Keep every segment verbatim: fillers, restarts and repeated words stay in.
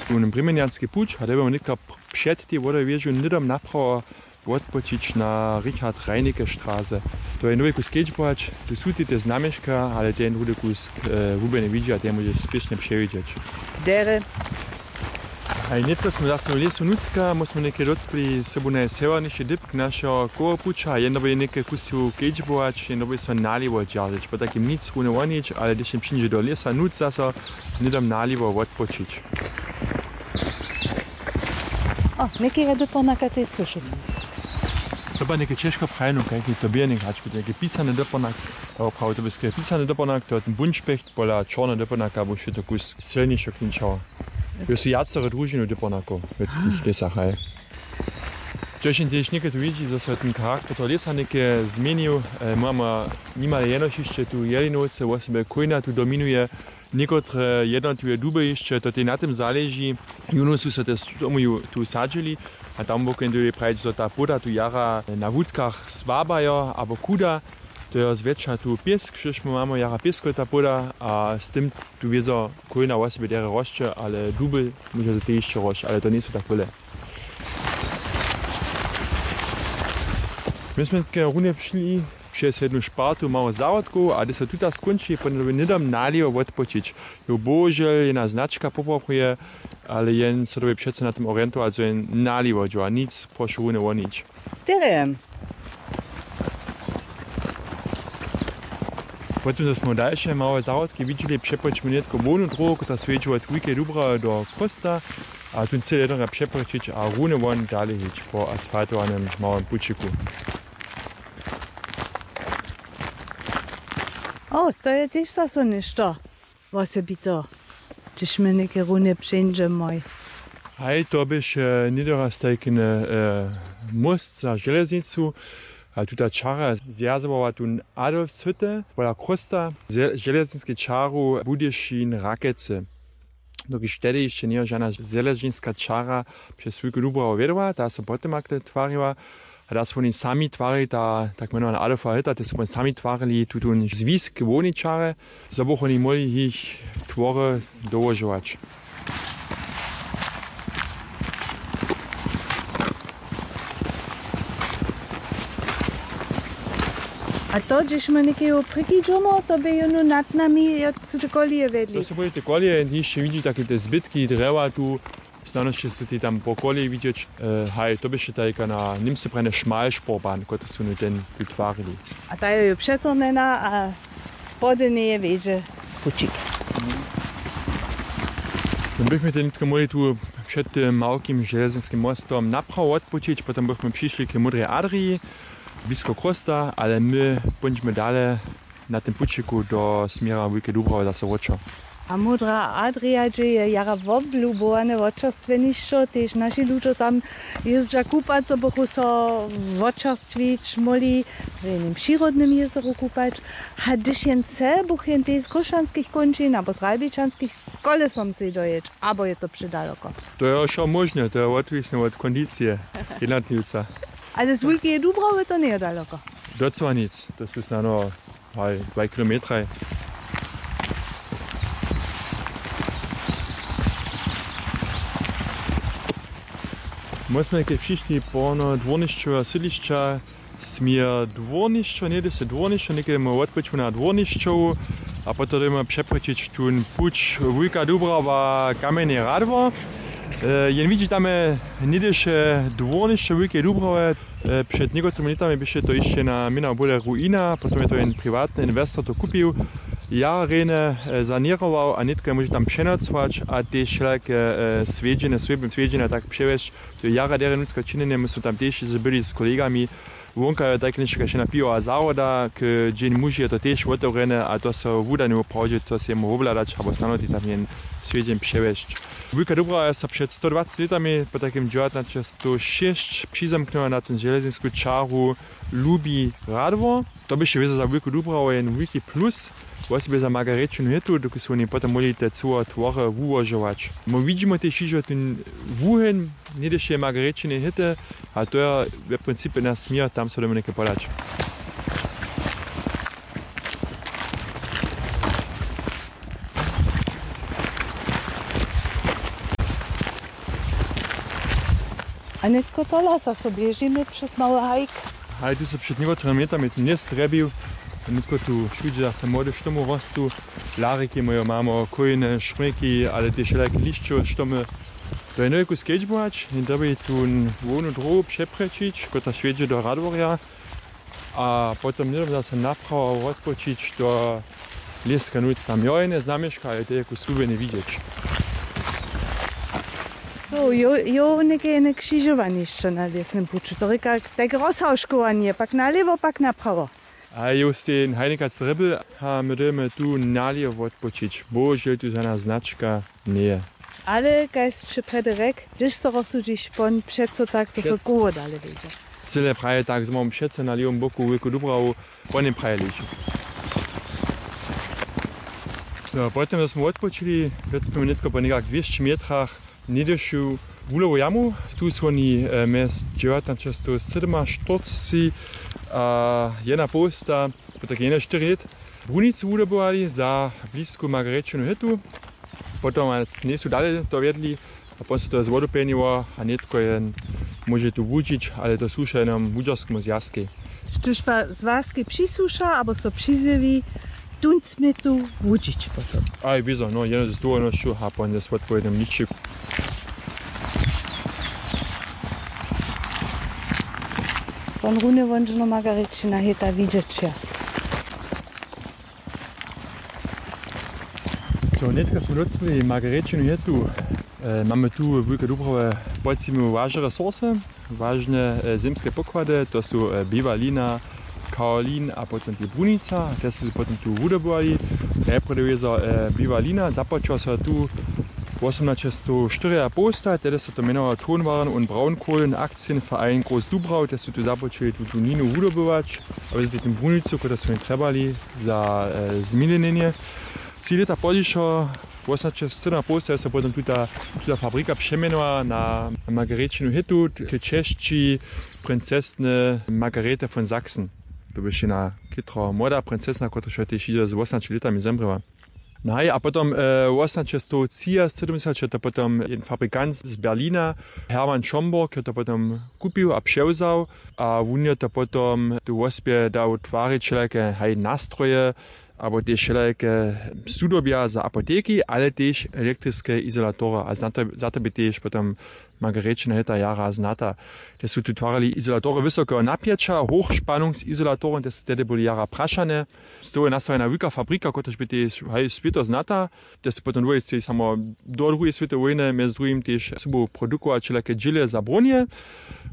Tun brěmenjanski puć a dyrbjamy nětko před tej wodowježu hnydom naprawo wotpočić na Richard Reinecke Straße. To je nowy kus kedźbować, tu su te znamješka, ale ten druhdy kus hubjene widźi a ten móže spěšnje přewidźeć. Derje. Haj, nětko smy zaso w lěsu Nutřka, my smy něke docpěli sobu najsewjerniši dypk našeho kołopuća, jedno by něke kusu kedźbować, jedno by so naliwo dźeržeć, po takim nic runje wonić, ale hdyž jen přińdźe do lěsa Nutř zaso, hnydom naliwo wotpočić. O, někaj dypornaka tež słyšimy. To bě něke ćežko prajeno, kajki to bě něk hač, něke pisane dypornak, oprawy to bě skerje pisane dypornak, to je ten bunšpecht, pola čorne dypornaka by wšě to kus sylnišo klinčało. Jo su wjacore družiny dypornakow w tych lěsach, haj. Čež jen tež něke tu widźi, zo so ten charakter toho lěsa něke změnił. Mamy nimale jenož hišće tu jelinowce, wosebje chójna tu dominuje, někotre jednotliwe duby hišće, to tež na tym zaleži. Jónu su so tež tomu tu sadźili a tam wokoń dyrje prajić, zo ta płoda tu jara na wutkach słabajo abo chuda. To je zwjetša tu pěsk, štož my mamy jara pěskowita płoda a z tym tu wězo chójna wosebje derje rosće, ale duby móža to tež hišće rosć, ale to njejsu tak wjele. My smy ke runje přišli přez jednu špartu mało zahrodkow a hdyž so tuta skónči, potom by hnydom naliwo wotpočić. Jo, bohužel jedna značka popoprawuje, ale jen so dobi přeco na tym orientować, zo jen naliwo dźo a nic prošu runje wonić. Terje. Potom zo smy dalše małe zahrodki widźeli, přepočimy nětko hłownu dróhu, kotrež swjedźi wot Wulkeje Dubrawy do Chrósta, a tón chce jednoho přepočić a runje won dale hić po asfaltowanym małym pućiku. O, to je tež zaso něšto wosebiteho, hdyž my něke runje přeńdźemoj. Haj, to běše něhdy raz tajki móst za železnicu. A tuta čara zwjazowawa tón Adolfshytte pola Chrósta z železniskej čaru Budyšin Rakece. Dokelž tehdy hišće njeje žana železniska čara přez Wulku Dubrawu wjedła, ta so potom akle twariła. A da su woni sami twarili ta tak mjenowana Adolfa Hytta, te su woni sami twarili tutón zwisk hłownej čary, zo buchu woni móhli jich twory dołožować. A to, hdźež my někeho překińdźomy, to bě jónu nad nami, jak su te koleje wjedli. To su byli te koleje, hišće widźi take te zbytki drjewa tu, snano hišće su te tam po koleji widźeć. Haj, to běše tajka na Němsce prajene Schmalspurbahn, kotrež su woni ten tu twarili. A ta je jo přetornjena a spody njeje wjedźe pućik. No, bychmy te nětko móhli tu před tym małkim železninskim mostom naprawo wotpućić, potom bychmy přišli k Módrej Adriji, blisko Chrósta, ale my póńdźmy dale na tym pućiku do směra Wulkeje Dubrawy zaso wróćo. A Módra Adrija, hdźe je jara woblubowane wočerstwjenišćo, tež naši ludźo tam jězdźa kupac, zo bychu so wočerstwić móhli w jenym přirodnym jězoru kupać. A hdyž jen chce, buch jen tež z Chróšćanskich kónčin abo z Ralbičanskich z kolesom sej dojěć, abo je to předaloko? To je wšo móžne, to je wotwisne wot kondicije jednotliwca. Ale z Wulkeje Dubrawy to njeje daloko. Docyła nic, to su snano, haj, dwaj kilometraj. My smy ke přišli porno dwórnišćoweho sydlišća, směr dwórnišćo, něhdy se dwórnišćo, někedy móhł wotpyć na dwórnišćowu a potom dyrjemy přepočić tón puć Wulka Dubrawa, Kamjene Radwo. Jen widźi tam něhdyše dwórnišćo Wulkeje Dubrawy. Před někotrymi lětami běše to hišće na měna bóle ruina, potom je to jen priwatny inwestor to kupił, jara rjenje saněrował a nětko je móže tam přenocować a tež wšelake swjedźenje, swjedźenja tak přewjesć. To je jara derje nutřka činjenje, my smy tam tež byli z kolegami. Wonka je tajke něšto kaž jedna piwowa zahroda, k dźeń muži je to tež wotewrjene a to so wuda njewoprawdźe to sej móhł wobhladać abo snano tež tam jen swjedźeń přewjesć. Wulka Dubrawa je so před sto dwaceći lětami po takim dźewjatnaće sto šěsć přizamknyła na tón železninsku čaru Lubi Radwo. To běše wězo za Wulku Dubrawu jen wulki plus, wosebje za Margarečinu hytu, dokelž su woni potom móhli te cyłe twory wułožować. My widźimy tež hižo tón wuheń něhdyšeje Margarečiny hyty a to je w principje naš směr, tam so dyrjemy něke podać. A nětko tola zaso běžimy přez mały hajk. Haj, tu so před někotrimi lětami tu njez drjebił. Nětko tu wšudźe zase młode štomy rostu. Lariki mojo mamo, kójne, šmriki, ale tež wšelake lišćowe štomy. To je nowku skedźbować, jen dyrbi tu hłownu dróhu přeprječić, kotla wjedźe do Radworja. A potom hnydom zase naprawo wotpočić do Lěska nutř. Tam jo jene znamješka, ale to je jako słubjenje widźeć. Jo, jo, jo, něke jene křižowanišće na lěsnym puću. To rěka, tak rozhawškowanje, pak nalěwo, pak naprawo. A jo stej hajnikac rěbl, a my dyrjemy tu nalěwo wotpočić. Bohužel tu žana značka njeje. Ale kaž sće prjedy rjek, hdyž so rozsudźiš pon, přeco tak, zo so Před- koło dale wjedźe. Cyle praje tak, zo mam přeco na lěwom boku wulku Dubrawu, pon je praje leži. So, potom zo smy wotpočili, wjec smy nětko po někak dwěsći metrach njedyšu wulowu jamu. Tu su woni, e, mjez dźewjatnaćestow sydomaštyrceći a jedenapołsta, potajke jedenaštyri lět, brunicu wudobywali za blisku Margarečinu hytu. Potom njejsu dale to wjedli a potom so to je zwodopenjiło a nětko jen móže tu wužić, ale to słuša jenom wučerskemu zwjazkej. Štóž pa zwjazkej přisłuša abo so přizjewi, tón smě tu wužić potom. Aj, wězo, no, jedno z dowolnosću a potom je swotpowiednym ničik. Won runje wonžno Margarečina hěta widźeć je. So, nětko smy docpěli Margarečinu hytu. E, mamy tu w Wulkej Dubrawje podzimu wažne resursy, wažne, e, zymske pokłady, to su, e, biwalina, kaolin a potom tež brunica, te su potom tu wudobywali. Najprjedy wězo, e, biwalina, započało so tu wosomnaćestow štyriapołsta, tehdy so to mjenowało Tonwaren und Braunkohlen Aktienverein Groß Dubrau, te su tu započeli tu, tu ninu wudobywać, a wězo tu brunicu, kotru su mi trjebali za, e, zmilenjenje. Tři lěta pozdźišo, wosomnaćestow sydomapołsta, je so potom tuta, tuta fabrika přemjenowa na Margarečinu hytu, k česći princesny Margarete von Sachsen. To běše na chětro młoda princesna, kotraž je tež hižo z wosomnaće lětami zemrěła. No haj, a potom, e, wosomnaćestow třiasydomdźesat je to potom jedyn fabrikant z Berlina, Hermann Schomburg, je to potom kupił a přewzał a wón je to potom tu wospě dał twarić wšelake, haj, nastroje, abo tež wšelake sudobja za apoteki, ale tež elektriske izolatory. A za to, za to bě tež potom Margarečina hyta jara znata. Te su tu twarili izolatory wysokeho napjeća, hochspannungsizolatorow, te su tehdy byli jara prašane. Z toho je nastawjena wulka fabrika, kotraž bě tež, haj, swěto znata. Te su potom dwójce samo do druhej swětowej wójny mjez druhim tež sobu produkować wšelake dźěle za brunje.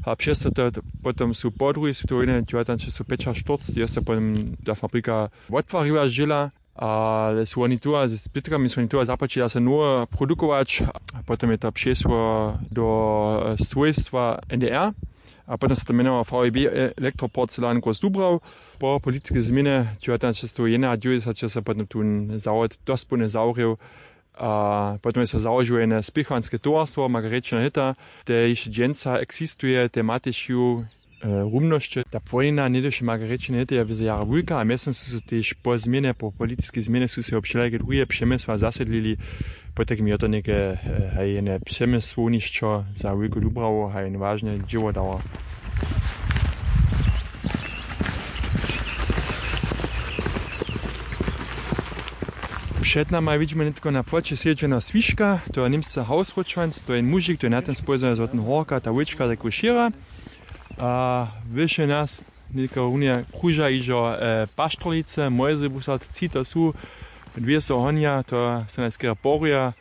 A přez to, to potom su po druhej swětowej wójny dźewjatnaćestowpjećaštyrceći je so potom ta fabrika wottwariła z dźěla. Ale su woni tu a z zbytkami su woni tu a započeli zase nowe produkować. A potom je to přešło do, e, swójstwa N D R. A potom so to mjenowało V E B Elektroporzelan Groß Dubrau. Po politiskej změnje dźewjatnaćestowjedenadźewjećdźesat je so potom tón zawod dospołnje zawrěł. A potom je so załožiło jedne spěchowanske towarstwo Margarečina hyta, te hišće dźensa eksistuje, te ma tež ju, e, rumnosće. Ta płonina njedyše Margarečiny hyty je wězo jara wulka a mjeztym su so tež po změnje, po politiskej změnje su so wšelake druhe přemysła zasedlili. Potajkim je to něke, e, haj, jedne přemysłownišćo za Wulku Dubrawu, haj, jedne wažne dźěło dało. Před nama widźimy nětko na płoće sedźeho swiška, to je Němsce Hausrotschwanz, to je mužik, to je na tym spójzany z Horka, ta wóčka, tak šěra. A wyše nas nětko runje kruža hižo, e, paštrolice, moje zebusat, tři to su, dwě so honja, to so najskerje poruja.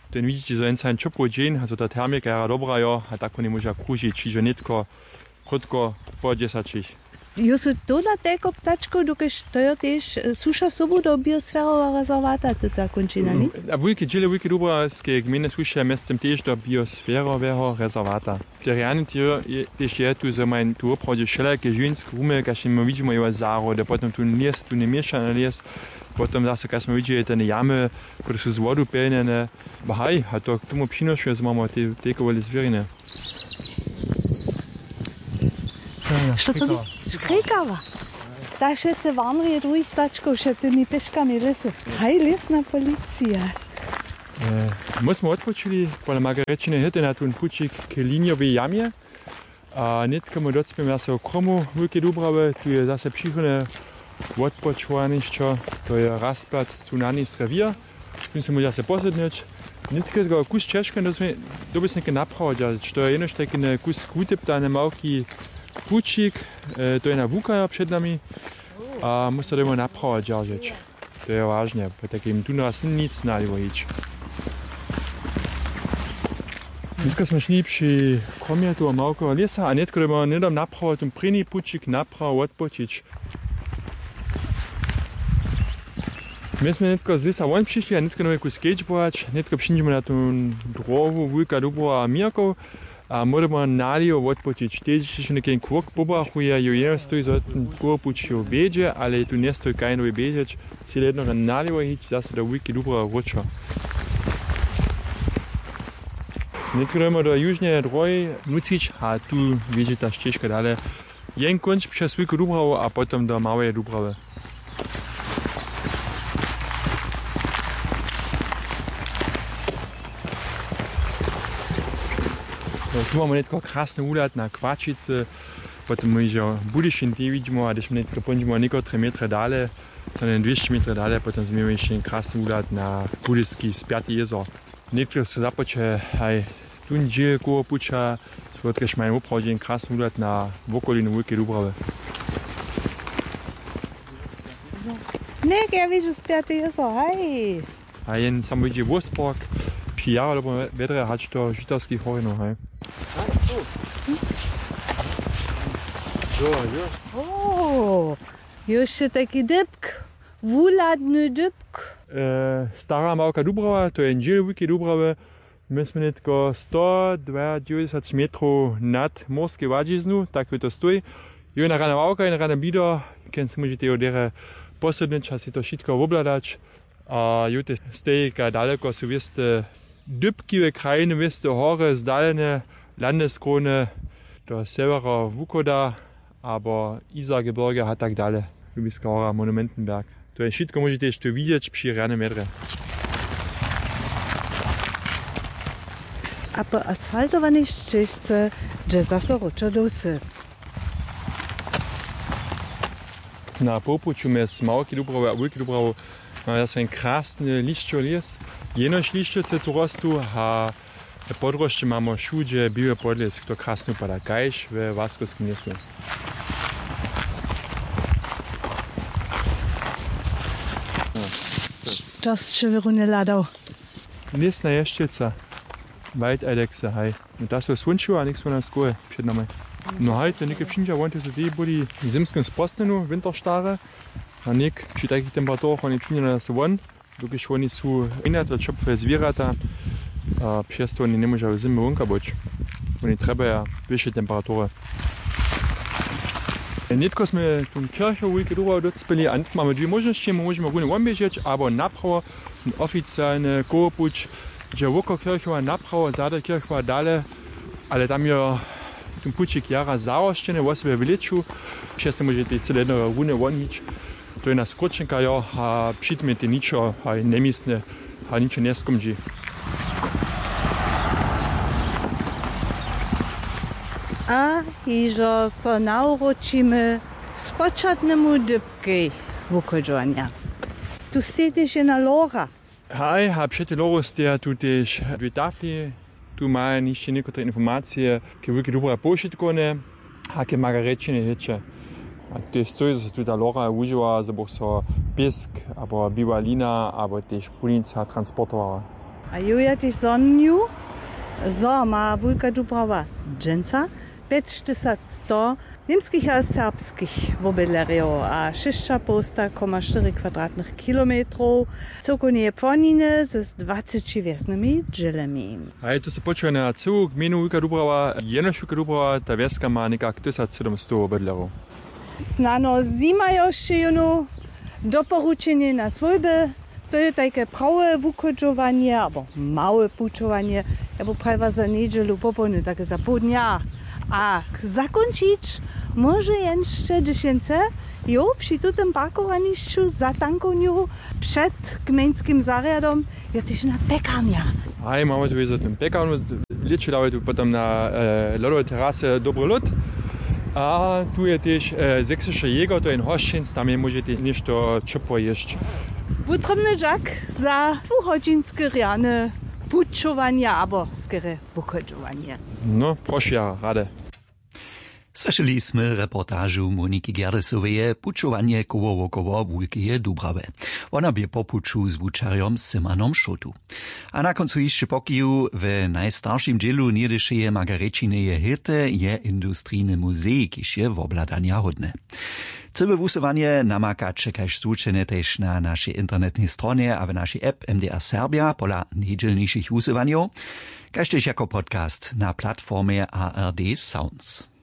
Ten widźiće, zo jen sami ćopły dźeń, zo ta termika jara dobra jo, a tak woni móža kružić hižo nětko krótko po dźesaćich. Jo su tola telko ptačkow, dokelž to jo tež, e, słuša sobu do biosferoweho rezerwata, tuta kónčina, nic? A wulke dźěle Wulkeje Dubrawskeje gmejny słušaja mjeztym tež do biosferoweho rezerwata. Te rjany tež je tu, zo maja tu woprawdźe wšelake žiwjenske rumy, kaž my widźimy, jo, zahrody, potom tu lěs, tu njeměšany lěs, potom zase, kaž smy widźeli, te jamy, kotrež su z wodu pjelnjene. Ba haj, a to k tomu přinošuje, zo mamy te, te kowoli zwěriny. Što to bi? Škrikawa. Ta wšetcy warnrje druhich ptačkow před tymi pěškami w lěsu. Haj, lěsna policija. E, my smy wotpočili pola Margarečiny hyty na tón pućik k liniowej jamje. A nětko my docpěmy zaso kromu Wulkeje Dubrawy, tu je zaso přichodne wotpočowanišćo, to je Rastplatz Tsunami Revier. Tón se móže zaso posydnyć. Nětko je to kus ćežke, doby se něke naprawo dźeržeć, to je jenož tajki kus wutyptany małki pućik, e, to je na wukajo před nami. A móže to doma naprawo dźeržeć. To je wažne, po takim tu nas nic naliwo hić. Dźenka smy šli při kromje toho małkeho lěsa a nětko doma hnydom naprawo, ten prěni pućik naprawo wotpočić. My smy nětko z lěsa won přišli a nětko doma kus kedźbować, nětko přińdźemy na tu dróhu Wulka Dubrawa a Měrkow. A móžemy naliwo wotpočić. Tež hišće něke kłok pobrachuje, jo jeno stoji, zo ten kołopuć jo wjedźe, ale je tu njestoji kaž nowi běžeć, cyle jednoho naliwo hić zaso do Wulkeje Dubrawy wróćo. Nětko dojmy do južneje dróhi nucić a tu wjedźe ta šćežka dale. Jen kónc přez Wulku Dubrawu a potom do Małeje Dubrawy. No, tu mamy nětko krasny wuhlad na Kłaćicy, potom my hižo Budyšin tu widźimy, a hdyž my nětko póńdźemy někotre metry dale, so jen dwěsći metry dale, potom změmy hišće krasny wuhlad na Budyski spjaty jězor. Něktóre su započeli haj tón dźěl kołopuća, wotkaž maja woprawdźe jen krasny wuhlad na wokolinu Wulkeje Dubrawy. Něk, ja widźu spjaty jězor, haj. A jen samo widźi Wósbork, při jara dobrom wjedrje hač do Žitawskich horinow, haj. Jo, jo. O, još je tajki dypk, wuhladny dypk. E, Stara Małka Dubrawa, to je jen dźěl Wulkeje Dubrawy. My smy nětko sto dwajadźewjećdźesat metrow nad morskej hładźiznu, tak je to stoj. Jo, jedna rana ławka, jedna rana blido, kjenž se móžetejo derje posydnyć a sej to wšitko wobhladać. A jo, te stejka daleko su wěste dypkiwe krajiny, wěste hory, zdalene landneskróny do sewjera wuchoda, abo Isargebirge a tak dale. Lubiska hora, Monumentenberg. To je wšitko, móžetež tu widźeć při rjanym wjedrje. A po asfaltowanej šćežce dźe zaso wróćo do wsy. Na połpuću mjez Małkej Dubrowje a Wulkej Dubrowje mamy zaso jen krasny lišćowy lěs. Jenož lišćowce tu rostu a Podrósće mamy wšudźe běły podlěsk, to krasnje wupada, kaž we Łaskowskim lěsu. Što sće wěrunje hladał? Lěsna ješćelca, Waldeidexe, haj. No, ta so słónčiła a něk su nas koły před nama. No haj, to něke přińdźa, won, to su tež byli w zymskim sprostnjenju, winterstare. A něk při takich temperaturach woni přińdźa na nas won. Dokelž woni su, jinak to ćopłe zwěrata, a přez to woni njemóža w zymje wonka być. Woni trjebaja wyše temperatury. Nětko smy tu kěrchow Wulkeje Dubrowje docpěli a nětko mamy dwě móžnosće, my móžemy runje woběžeć abo naprawo, ten oficialny kołopuć dźe wokoło kěrchowa naprawo, zady kěrchowa dale, ale tam jo ten pućik jara zarošćeny, wosebje w lěću, přez to móžetej cyle jednoho runje won hić. To je na skrótšenka, jo, a při tym je to ničo, a je njemyslne, a ničo njeskomdźi. A hižo so nawróćimy k spočatnemu dypkej wuchodźowanja. Tu stej tež jedna lora. Haj, a před tej loru steja tu tež dwě tafli. Tu maja hišće někotre informacije k Wulkej Dubrowje powšitkowne a k Margarjećinje hiće. A tež stoji, zo so tu ta lora wužiwa, zo bych so pěsk abo biła lina abo tež płunica transportowała. A jo, ja tež zhonju, zo ma Wulka Dubrawa dźensa pjećtysac sto němskich a serbskich wobydlerjow a šěsćapołsta koma štyri kwadratnych kilometrow cyłkownje płoniny z dwaceći wjesnymi dźělemi. A je to so počuje na cyłu gmejnu Wulka Dubrawa, jenož Wulka Dubrawa, ta wjeska ma někak tysac sydomstow wobydlerjow. Snano zima jo sće jónu doporučenje na swójby. To je tajke prawe wuchodźowanje abo małe pućowanje. Ja by prajiła za njedźelu popołdnju, tak za poł dnja. A zakónčić móže jen šće, hdyž jen chce, jo, při tutym parkowanišću za tankownju před gmejnskim zarjadom, jo, tež na pjekarnja. Haj, mamy tu za tym pjekarnju, Lěćo dawaj tu potom na lodowej terasy dobry lód. A tu je tež seksische jäger, to je jen hosćenc, tam je móžete něšto ćopło jěsć. Wutrobny dźak za dwuhodźinske rjane pućowanje abo skerje wuchodźowanje. No prošu ja rady. Słyšeli smy reportažu Moniki Gerdesoweje pućowanje koło wokoło wulkeje dubrawy. Wona bě po puću z wučerjom symanom šotu. A na kóncu hišće pokiju w najstaršim dźělu něhdyšeje margarećineje hěty je industrijny muzej kiž je wobhladanja hódny. Cyłe wusyłanje namakaće kaž zwučene tež na našej internetnej stronje a w našej app mdr serbja pola nejdźělnišich wusyłanjow, kaž tež jako podcast na platformje ard sounds.